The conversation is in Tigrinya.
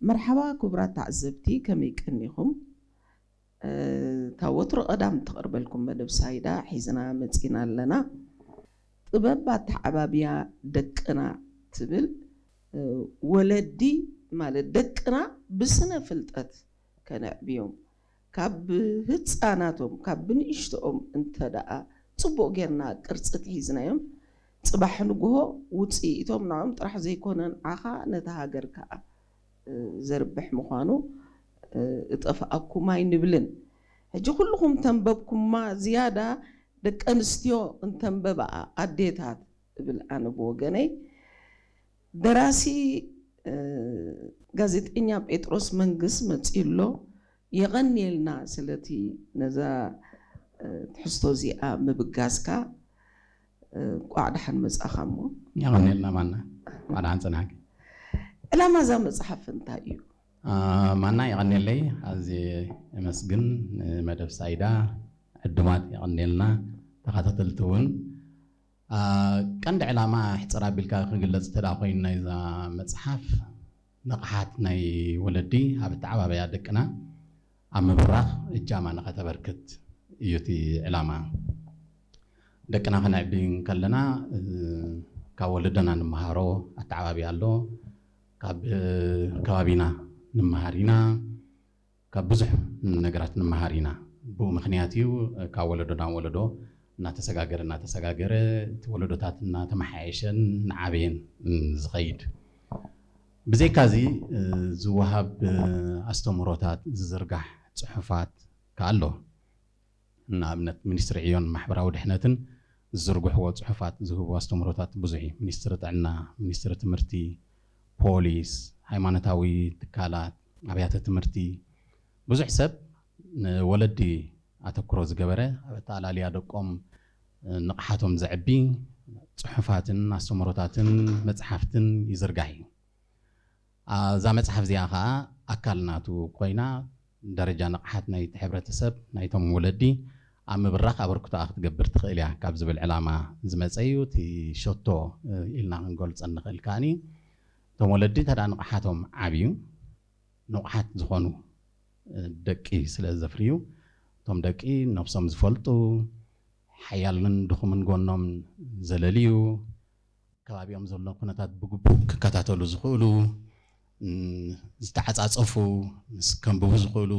መርሓባ ክቡራት ተዓዘብቲ፣ ከመይ ቀኒኹም? እታ ወትሩ ቀዳም ትቐርበልኩም መደብ ሳይዳ ሒዝና መጺና ኣለና። ጥበብ ኣተዓባብያ ደቅና ትብል። ወለዲ ማለት ደቅና ብስነ ፍልጠት ከነዕብዮም፣ ካብ ህፃናቶም ካብ ብንእሽቶኦም እንተ ደኣ ፅቡቕ ጌርና ቅርፂ ትሒዝናዮም፣ ፅባሕ ንግሆ ውፅኢቶም ንዕኦም ጥራሕ ዘይኮነ ንዓኻ ነታ ሃገር ከዓ ዘርብሕ ምዃኑ እጠፍኣኩም ኣይንብልን። ሕጂ ኩልኹም ተንበብኩማ ዝያዳ ደቂ ኣንስትዮ እንተንበብኣ ኣዴታት እብል ኣነ ብወገነይ። ደራሲ ጋዜጠኛ ጴጥሮስ መንግስ መጺኡ ኣሎ። የቐንየልና ስለቲ ነዛ ትሕዝቶ እዚኣ ምብጋስካ። እንቋዕ ደሓን መጻኻ እሞ። የቐንየልና ማና። እንቋዕ ደሓን ጸናሕኪ። ዕላማ እዛ መጽሓፍ እንታይ እዩ? ማና የቐንየለይ። ኣዝየ የመስግን ንመደብ ሳይዳ ዕዱማት የቐንየልና፣ ተኸታተልቲ እውን። ቀንዲ ዕላማ ሕፅር ኣቢልካ ክግለፅ እንተ ኮይኑ ናይዛ መፅሓፍ ንቕሓት ናይ ወለዲ ኣብ ኣተዓባብያ ደቅና ኣብ ምብራኽ እጃማ ንኸተበርክት እዩ እቲ ዕላማ። ደቅና ከነዕቢ ከለና ካብ ወለዶና ንምሃሮ ኣተዓባብያ ኣሎ፣ ካብ ከባቢና ንምሃር ኢና፣ ካብ ብዙሕ ነገራት ንምሃር ኢና። ብኡ ምኽንያት እዩ ካብ ወለዶ ናብ ወለዶ እናተሰጋገረ እናተሰጋገረ እቲ ወለዶታት እናተመሓየሸን እናዓበየን ዝኸይድ። ብዘይካዚ ዝወሃብ ኣስተምህሮታት፣ ዝዝርጋሕ ፅሑፋት ከኣ ኣሎ። ንኣብነት ሚኒስትሪ ዕዮን ማሕበራዊ ድሕነትን ዝዝርግሕዎ ፅሑፋት፣ ዝህብዎ ኣስተምህሮታት ብዙሕ እዩ። ሚኒስትሪ ጥዕና፣ ሚኒስትሪ ትምህርቲ፣ ፖሊስ፣ ሃይማኖታዊ ትካላት፣ ኣብያተ ትምህርቲ፣ ብዙሕ ሰብ ንወለዲ ኣተኩሮ ዝገበረ ኣብ ኣተኣላልያ ደቆም ንቕሓቶም ዘዕቢ ፅሑፋትን ኣስተምህሮታትን መፅሓፍትን ይዝርጋሕ እዩ። እዛ መፅሓፍ እዚኣ ከዓ ኣካል ናቱ ኮይና ደረጃ ንቕሓት ናይቲ ሕብረተሰብ ናይቶም ወለዲ ኣብ ምብራኽ ኣበርክቶኣ ክትገብር ትኽእል እያ ካብ ዝብል ዕላማ ዝመፀ እዩ። እቲ ሸቶ ኢልና ክንገልፀ ንኽእል ከዓኒ እቶም ወለዲ እንተ ንቕሓቶም ዓብዩ ንቑሓት ዝኾኑ ደቂ ስለ ዘፍርዩ እቶም ደቂ ነብሶም ዝፈልጡ ሓያልን ድኹምን ጎኖም ዘለልዩ ከባቢኦም ዘሎ ኩነታት ብግቡእ ክከታተሉ ዝኽእሉ ዝተዓፃፀፉ ምስ ከንብቡ ዝኽእሉ